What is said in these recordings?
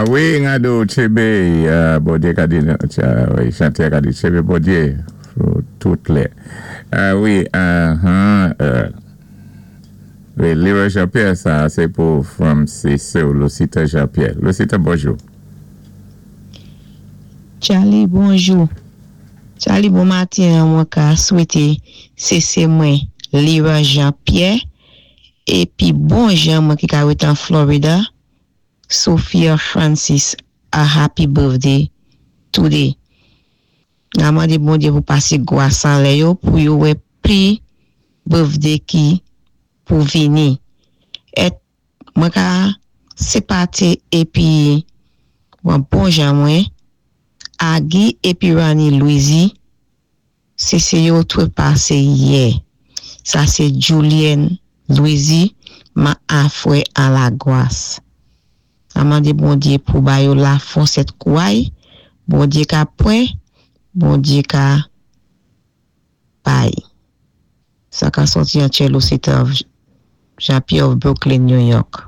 A wi, ngado tchébé, Bondyé ka di, wi, chanté a ka di tchébé Bondyé pou tout lè. A wi, ahan, wi, Leroy Jean Pierre, sa sé pou from sé sè-w Lucita Jean Pierre. Lucita, bonjou. Charlie, bonjou. Charlie, bon maten an mwen ka swété sé sé mwen Leroy Jean Pierre épi bon jan mwen ki ka wét an Florida, Sophia Francis, a happy birthday today. Na mandé Bondyé pou pasé gwas anlè yo pou yo wè pli birthday ki pou vini. Èt mwen ka sepate épi wan bon jan mwen Agi épi Rani Louisi sé sé yo twé pasé yè. Sa sé Julienne Louisi ma afwè a la gwas. Na mandé Bondyé pou ba yo la fòs èt kouway, Bondyé ka pwan, Bondyé ka bay. Sa ka sòti an Lucita of Jean-Pierre of Brooklyn, New York.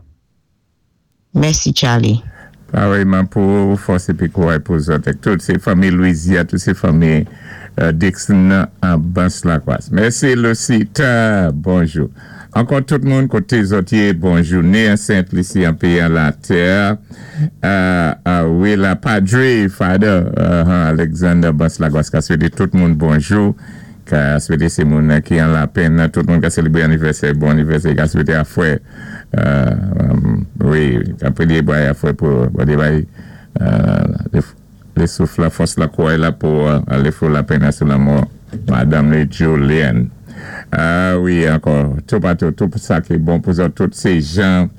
Mèsi, Charlie. Parèyman pou fòs épi kouway pou zòt èk tout sé fanmi Louisia, tout sé fanmi Dixon nan an Bans Lakwas. Mèsi Lucita, bonjou. Ankò tout moun koté zòt yé, bon jouné an Sent Lisi an péyi an latè. Wi la Padre Father Alexander Bans Lagwas ka swété tout moun bonjou, ka swété sé moun ki an lapenn, tout moun ka sélébré anivèsè, bon anivèsè, ka swété afwè. Wi, ka pwédyé bay afwè pou Bondyé bay lé souf la, fòs la, kouway la pou alé fou lapenn sou lanmò madanm li Julienne. Wi, ankò toupatou, tout sa ki bon pou zòt, tout sé jan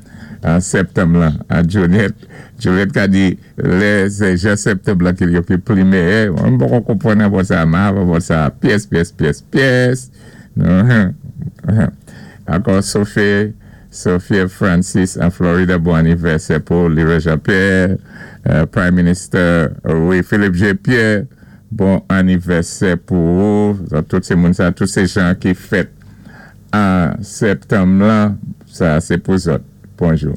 septanm lan. Juliette, Juliette ka di lè sé jan septanm lan ki yo ki pli meyè. Mwen poko konpwann abò sa, ma abò sa pyès, pyès, pyès, pyès. Ankò Sophie, Sophia Francis an Florida, bon anivèsè pou Leroy Jean Pierre, Prime Minister, wi, Philippe J. Pierre, bon anivèsè pou ou. Tout sé moun sa, tout sé jan ki fèt an septanm lan, sa sé pou zòt. Bonjou.